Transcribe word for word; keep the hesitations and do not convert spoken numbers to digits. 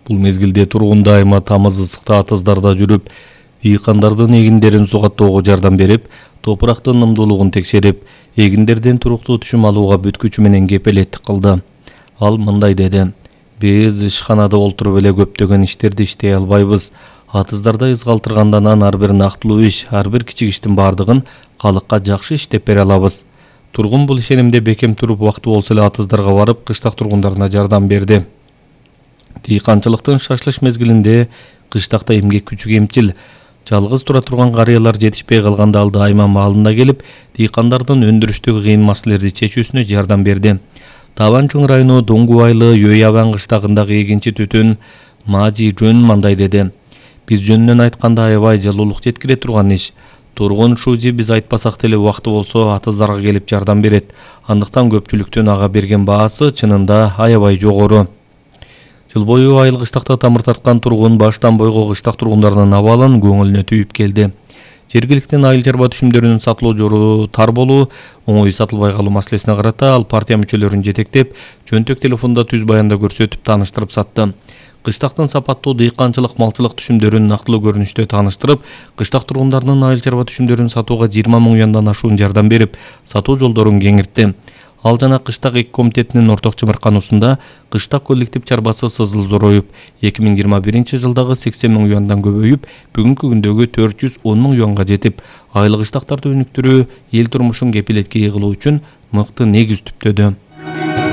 Бул мезгилде тургундар айма тамыз ысыкта атыздарда жүрүп, дыйкандардын эгиндерин сугаттоого жардам берип, топурактын ымдуулугун текшерип, эгиндерден туруктуу түшүм алууга бүткүчү менен кепилеттик кылды. Ал мындай деди: "Биз ишканада олтуруп эле көптөгөн иштерди иштей албайбыз. Атыздарда из калтыргандан ар бир нактылуу иш, ар бир кичик иштин бардыгын калыкка жакшы иштеп бере алабыз." Тургун бул ишенимде бекем туруп, убактуу болсо эле атыздарга барып, кыштак тургундарына жардам берди. Дыйканчылыктын шашлыш мезгилинде кыштакта эмгек күчү кемчил. Жалгыз тура турган карыялар жетишпей калганда ал дайыма маалында келип, дыйкандардын өндүрүштөгү кыйын маселелерди чечүүсүнө жардам берди. Табан-Чоң району Доңгу айылы Ёябан кыштагындагы эгинчи түтүн Мажи Жөн мындай деди: "Биз жөнүнөн айтканда аябай жылуулук жеткире турган иш. Тургун Шузи биз айтпасак деле убакыты болсо атыздарга келип жардам берет. Андыктан көпчүлүктүн ага берген баасы чынында аябай жогору." Жыл бою айыл кыштакта тамыр тарткан тургун баштан бойго кыштак тургундарынын абалын көңүлүнө түйүп келди. Жергиликтин айыл чарба түшүмдөрүнүн сатылуу жору тар болуу, оңой сатылбай калуу маселесине карата ал партия мүчөлөрүн жетектеп, жөнтөк телефондо түз баянда көрсөтүп тааныштырып сатты. Кыштактын сапаттуу дыйканчылык, малчылык түшүмдөрүн нактылуу көрүнүштө тааныштырып, кыштак тургундарынын айыл чарба түшүмдөрүн сатууга жыйырма миң юандан ашуун жардам берип, сатуу жолдорун кеңиртти. Ал жана кыштак эки комитетинин орток чымыркануусунда кыштак коллектив чарбасы сызыл зороюп, эки миң жыйырма биринчи жылдагы сексен миң юандан көбөйүп, бүгүнкү күндөгү төрт жүз он миң юанга жетип, айыл кыштактарды өнүктүрүү, эл турмушун кепилетке кылуу үчүн мыкты негиз түптөдү.